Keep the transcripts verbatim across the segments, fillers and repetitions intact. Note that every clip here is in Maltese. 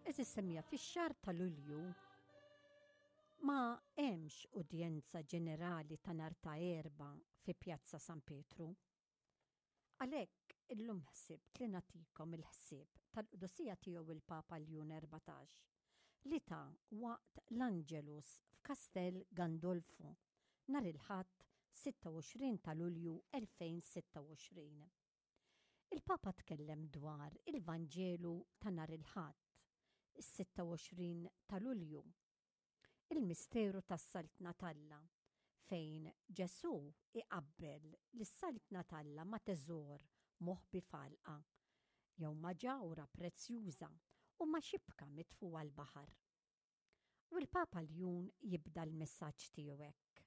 Għeżież semmiegħa, fix-xahar ta' Lulju ma hemmx udjenza ġenerali ta' nhar ta' Erbgħa fi Pjazza San Pietru. Għalhekk illum ħsibt li nagħtikom il-ħsieb tal-Qdusija Tiegħu il-Papa Ljun Erbatax li ta waqt l-Angelus f'Kastel Gandolfo nhar il-Ħadd sitta u għoxrin ta' Lulju elfejn u sitta u għoxrin. Il-Papa tkellem dwar il-Vanġelu ta' nhar il-Ħadd, is-sitta u għoxrin ta' Lulju, il-misteru tas-Saltna t'Alla, fejn Ġesù iqabbel lis-Saltna t'Alla ma' teżor moħbi f'għalqa, jew ma' ġawhra prezzjuża u ma' xibka mitfugħa l-baħar. U l-Papa Ljun jibda l-messaġġ tiegħu hekk: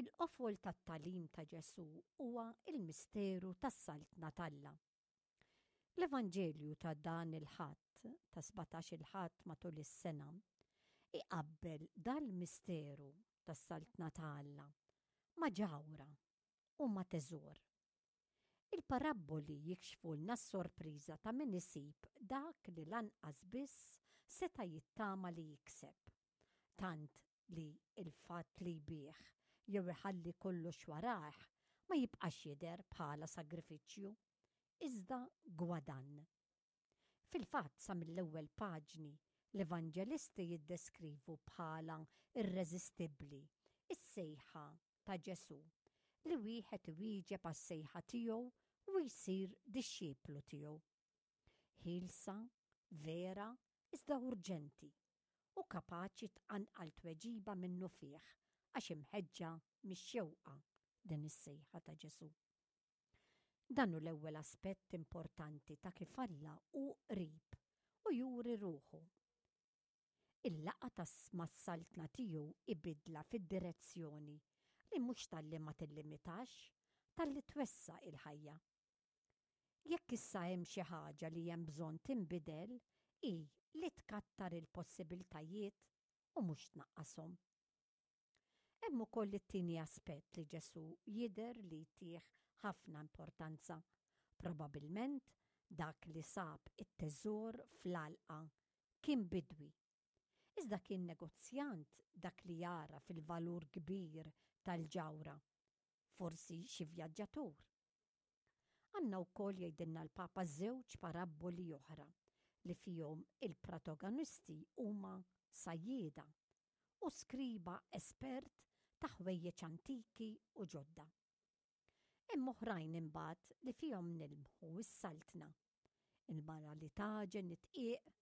"Il-qofol tat-tagħlim ta' Ġesù huwa il-misteru tas-Saltna t'Alla. L-Evanġelju ta' dan il-Ħadd, ta' sbatax il-Ħadd matul is-sena, iqabbel dal-misteru tas-Saltna ta' Alla ma' ġawhra u ma' teżor. Il-parabboli jikxfulna s-sorpriża ta' min isib dak li lanqas biss seta' jittama li jikseb. Tant li il-fatt li jbigħ jew iħalli kollox warajh ma jibqax jidher bħala sagrifiċċju, iżda gwadann. Fil-fatt, sa mill-ewwel paġni l-evanġelisti jiddeskrivu bħala irreżistibbli is-sejħa ta' Ġesù li wieħed iwieġeb għas-sejħa tiegħu u jsir dixxiplu tiegħu. Ħielsa, vera, iżda urġenti u kapaċi tqanqal tweġiba minnufih għax imħeġġa mix-xewqa din is-sejħa ta' Ġesù. Dan hu l-ewwel aspett importanti ta' kif Alla hu qrib u juri ruħu. Il-laqgħa ta' mas-saltna tiegħu ibidla fid-direzzjoni li mhux talli ma tillimitax, talli twessa' il-ħajja. Jekk issa hemm xi ħaġa li hemm bżonn tinbidel, hi li tkattar il-possibiltajiet u mhux tnaqqashom. Hemm ukoll it-tieni aspett li Ġesù jidher li jtih ħafna importanza. Probabilment dak li sab it-teżor fl-għalqa kien bidwi. Iżda kien negozjant dak li jara fil-valur kbir tal-ġawhra, forsi xi vjaġġatur. Għandna wkoll, jgħidilna l-Papa, żewġ parabboli oħra li fihom il-protagonisti huma sajjieda u skriba espert ta' ħwejjeġ antiki u ġodda. Hemm oħrajn imbagħad li fihom nilmħu s-saltna. Il-mara li tagħġen id-dqiq,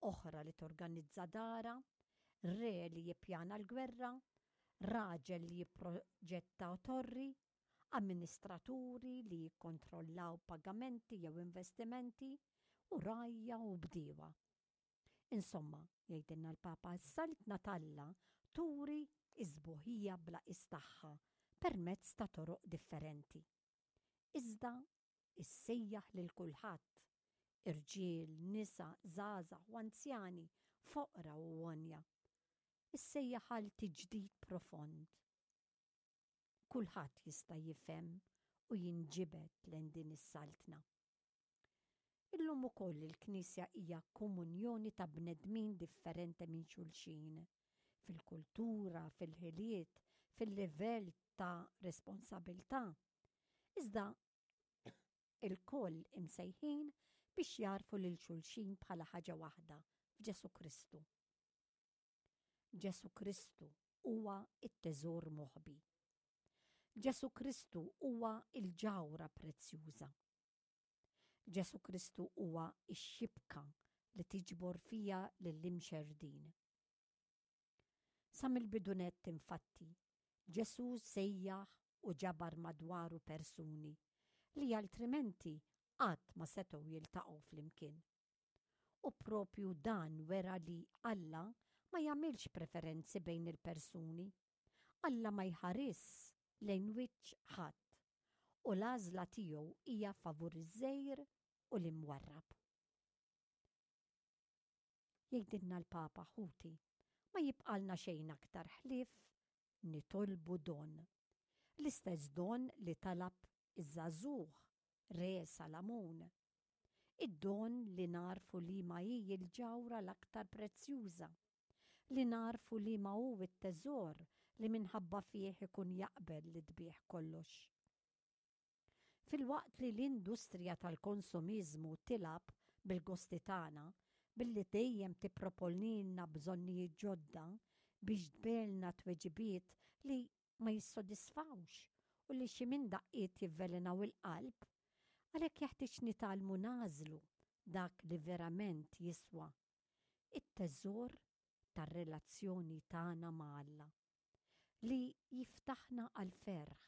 oħra li torganizza dara, re li jippjana l-gwerra, raġel li jipproġetta torri, amministraturi li jikkontrollaw pagamenti jew investimenti u rgħajja u bdiewa. Insomma, jgħidilna l-Papa, s-saltna t'Alla turi is-sbuħija bla tagħha permezz ta' toroq differenti. Iżda issejjaħ lil kulħadd, irġiel, nisa, żgħażagħ u anzjani, foqra u għonja. Issejjaħ għal tiġdid profond. Kulħadd jista' jifhem u jinġibed lejn din is-saltna. Illum ukoll il-Knisja hija komunjoni ta' bnedmin differenti minn xulxin fil-kultura, fil-ħiliet, fil-livell ta' responsabilità. Iżda ilkoll imsejħin biex jagħrfu lil xulxin bħala ħaġa waħda f'Ġesù Kristu. Ġesù Kristu huwa it-teżor moħbi. Ġesù Kristu huwa il-ġawhra prezzjuża. Ġesù Kristu huwa ix-xibka li tiġbor fija lill-imxerdin. Sa mill-bidu nett, infatti, Ġesù sejjaħ u ġabar madwaru persuni li altrimenti qatt ma setgħu jiltaqgħu flimkien. U propju dan wera li Alla ma jagħmilx preferenzi bejn il-persuni. Alla ma jħares lejn wiċċ ħadd u l-għażla tiegħu hija favur iż-żgħir u l-imwarrab. Jgħidilna l-Papa: ħuti, ma jibqalna xejn aktar ħlief nitolbu don. L-istess don li talab iż-żagħżugħ Re Salamun. Id-don li nagħrfu liema hi l-ġawhra l-aktar prezzjuża, li nagħrfu liema hu t-teżor li minħabba fih ikun jaqbel li tbigħ kollox. Filwaqt li l-industrija tal-konsumiżmu tilgħab bil-gosti tagħna billi dejjem tipproponilna bżonnijiet ġodda biex tbigħlna tweġibiet li ma jissodisfawx u li xi minn daqqiet jivvelenaw il-qalb, għalhekk jeħtieġ nitgħallmu nagħżlu dak li verament jiswa, it-teżor tar-relazzjoni tagħna ma' Alla, li jiftaħna għall-ferħ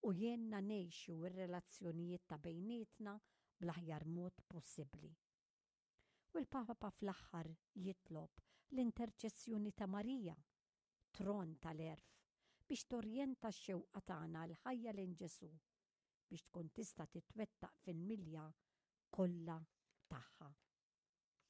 u jgħinna ngħixu r-relazzjonijiet ta' bejnietna bl-aħjar mod possibbli. U l-Papa fl-aħħar jitlob l-interċessjoni ta' Marija, tron tal-għerf, biex torjenta x-xewqa tagħna l-ħajja lejn Ġesù biex tkun tista' titwettaq fil-milja kollha tagħha.